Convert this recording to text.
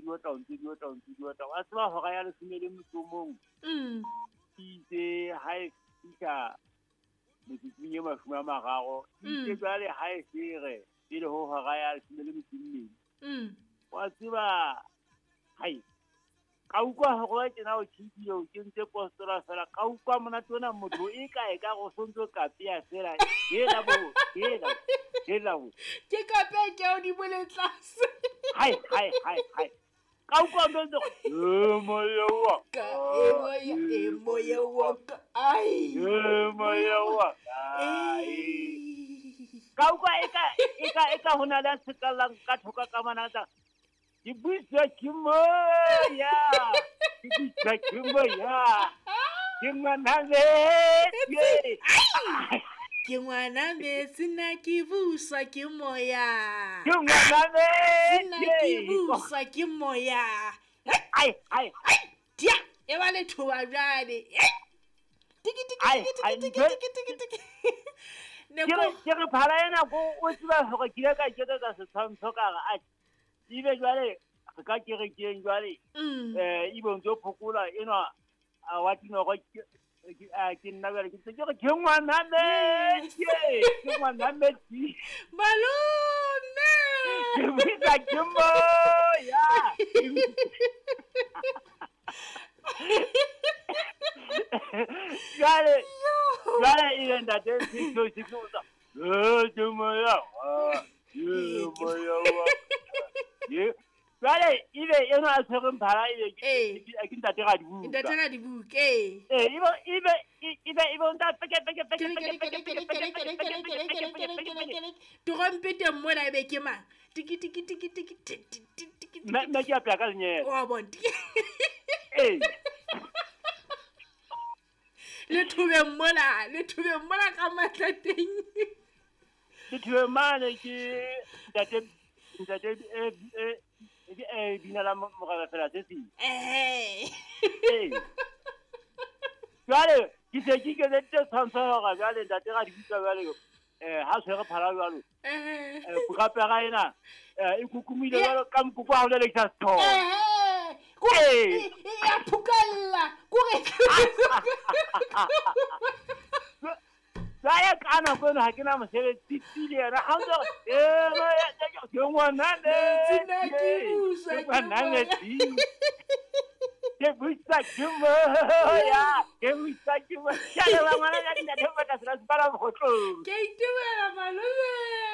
di otla, o ntse di otla, o ntse di otla. Wa tseba hora ya leshome le motso o mong. Itse ha e fihla metsotsong e 30, itse jwale ha e fere pele ho hora ya leshome le metso e mmedi. Wa tseba hai ka utlwa hore wa tjena o tjhidile o kentse postola fela ka utlwa monate ona motho e ka e ka go sontso kapea fela hela bo hela hela bo ke kapea ke o di bole tlase hai hai hai hai ka utlwa ntse e moya wa ka e moya e moya wa ka ai e moya wa ai ka utlwa e ka e ka e ka hona le sekallang ka thoka ka manatsa ke buiswa ke moya ke buiswa ke moya ke ngwana metsi ke ngwana metsi nna ke buswa ke moya ke ngwana metsi nna ke buswa ke moya ai ai ai dia e ba le thoba jwale tiki tiki tiki tiki tiki tiki ke re phala ena ko o tseba hore ke ile ka iketsetsa setshwantsho ka re a ebe jwale re ka kerekeng jwale ebe o ntso phokola enwa a wa tinoro ke nna jwale ke ntse ke re ke ngwana metsi ke ngwana metsi malome ke bitsa ke moya jwale jwale ebe ntate se se tsa ke moya ke moya wa ye jwale ebe eno a tshwereng phala ebe ke ntate Radibuka ntate Radibuka ee ebe ebe ebe o nta peke peke peke peke peke peke trompete mona ebe ke mang tiki tiki tiki tiki tiki tiki nna ke apea ka lenyele wa bona ee le thubeng mola le thubeng mola ka matla teng le thubeng mane ke ntate ntate e bina la moraba fela se seng ee jwale ke se ke ikeditse tshwantsho hore jwale ntate Radibuka jwale ha tshwere phala jwalo purapera ena e kukumile jwalo ka mokoko ha o lelekisa sethobo e a phukalla kore jwale ka nako eno ha ke na mosebetsi tsile yena ha ntse ke ngwana metsi ke buisa ke moya ke buisa ke moya ke a leboha ngwana ka ntate o batla sera sepala mogotlong ke itumela malome.